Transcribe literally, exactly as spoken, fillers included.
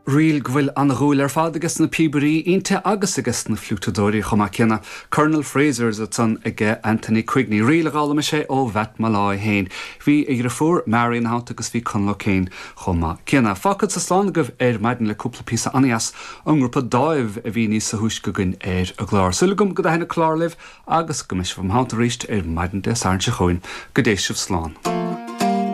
Ríl go bhfuil an-dhúil ar fad aige sna píobairí inti agus aige sna fliútadóirí chomh maith céanna. Colonel Fraser's ansan aige Anthony Quigney ríl a d'fhoghlaim sé ó Mhatt Molloy féin. Bhí a dheirfiúr Mary ina theannta agus bhí Conall O'Kane chomh maith céanna. Fágfadsa slán agaibh ar maidin le cúpla píosa an-deas ón ngrúpa Dáimh a bhí níos túisce againn ar an gclár. Súil agam go dtaitneoidh an clár libh agus go mbeidh sibh im theannta arís ar maidin Dé Sathairn seo chugainn go dté sibh slán.